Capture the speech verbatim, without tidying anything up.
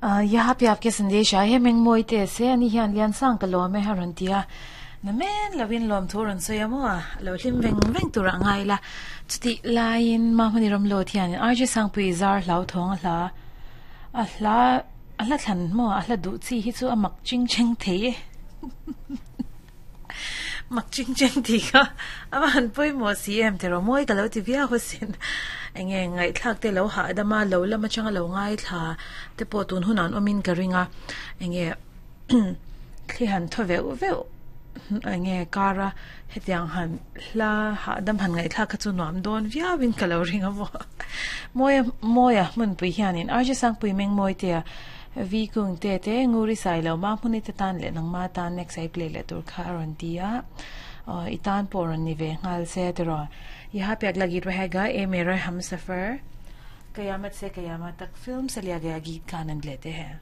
यहाँ पे आपके संदेश आए हैं mengmoi se ani hian lian sang ka lawm e a rawn ti a namen lovin lawm thu rawn sawi a maw a lo hlim veng veng tur a ngai la chuti laiin mahmani ram lo thianin R J Sangpui zar hlau thawng a hla a hla a hla thlan maw a hla duh chi hi chu a mak ching cheng thei e mak ching cheng ti kha a han pawimawh si em tiraw mawi ka lo ti viau asin enge ngaihthlak te lo hah dama lo lam atanga lo ngaithla te pawh tun hunah an awmin ka ring a enge thli han thaw veuh veuh enge kara hetiang han hla hah dam han ngaihthlak kha chu nuam dawn viauin ka lo ring a maw mawia mawia hmunpui hianin R J Sangpui mengmawi te a V kung te te nguri sai lo ma hmuni te tan leh nangma tan next ai play leh tur kha a rawn ti a i tan pawh rawn ni ve nghal se tiraw यहाँ पे अगला गीत रहेगा ए मेरा हम सफर कयामत से कयामत तक फिल्म से लिया गया गीत का आनंद लेते हैं।